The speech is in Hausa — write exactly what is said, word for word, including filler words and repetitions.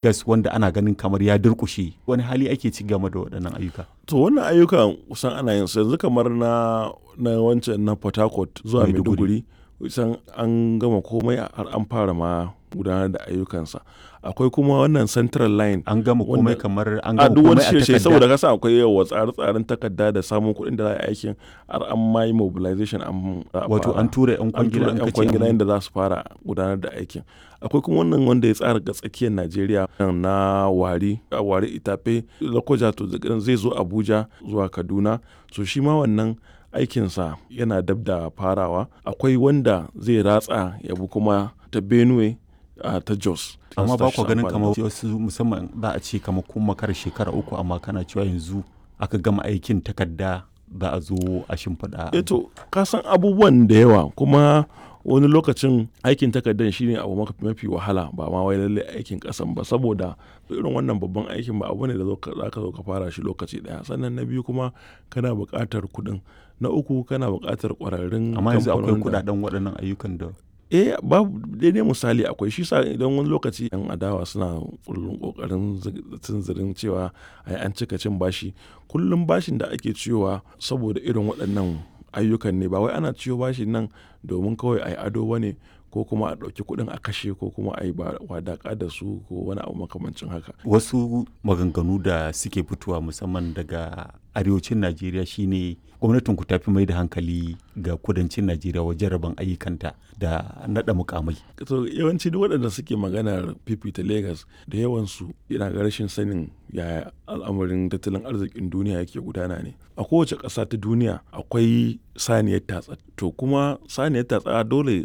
Legas wanda ana ganin kamar ya durƙushe. Wani hali ake ci game da waɗannan ayyuka? To wannan ayyukan kusan ana yin su yanzu kamar na na wancan na Port Harcourt zuwa Maiduguri kusan an gama komai har an fara ma gudanar da ayyukansa. Akwai kuma wannan Central Line. An gama komai kamar an A gama duk wani komai a shirye takarda. saboda kasa akwai yawa tsare-tsaren takarda da samun kuɗin da za a yi aikin har an ma yi mobilization an za a Wato fara. an tura 'yan An kwangila tura an 'yan kace kwangila an yadda za su fara gudanar da aikin. Akwai kuma wannan wanda ya tsara ga tsakiyar Najeriya na Wari, Wari Itafe, Lokoja to zai zo Abuja zuwa Kaduna. So shi ma wannan aikinsa yana dab da farawa. Akwai wanda zai ratsa ya bi kuma ta Benue a ta Jos. Amma ba ku ganin Amfani. kamar wasu musamman za a ce kamar kun makara shekara uku amma kana cewa yanzu aka gama aikin takarda za a zo a shimfiɗa. Eh to ka san abubuwan da yawa kuma wani lokacin aikin takardar shine abu mafi wahala ba ma wai lallai aikin kasan ba saboda irin wannan babban aikin ba abu ne da za ka zo ka fara shi lokaci daya sannan na biyu kuma kana buƙatar kuɗin na uku kana buƙatar ƙwararrun Amma yanzu akwai kamfanonin da- kuɗaɗen waɗannan ayyukan da eh babu daidai misali akwai shi sa idan wani lokaci yan adawa suna kullum kokarin tunzirin cewa ai an cika cin bashi kullum bashin da ake ciyowa saboda irin waɗannan ayyukan ne ba wai ana ciyo bashin nan domin kawai ai ado bane ko kuma a ɗauki kuɗin a kashe ko kuma a yi wadaƙa da su ko wani abu makamancin haka wasu maganganu da suke fitowa musamman daga arewacin Najeriya shine gwamnatin ku tafi mai da hankali ga kudancin Najeriya wajen rabon ayyukanta da naɗa mukamai. To yawanci duk waɗanda suke maganar fifita Legas da yawansu yana ga rashin sanin yaya al'amarin tattalin arzikin duniya yake gudana ne. A kowace ƙasa ta duniya akwai saniyar tatsa. To kuma saniyar tatsa dole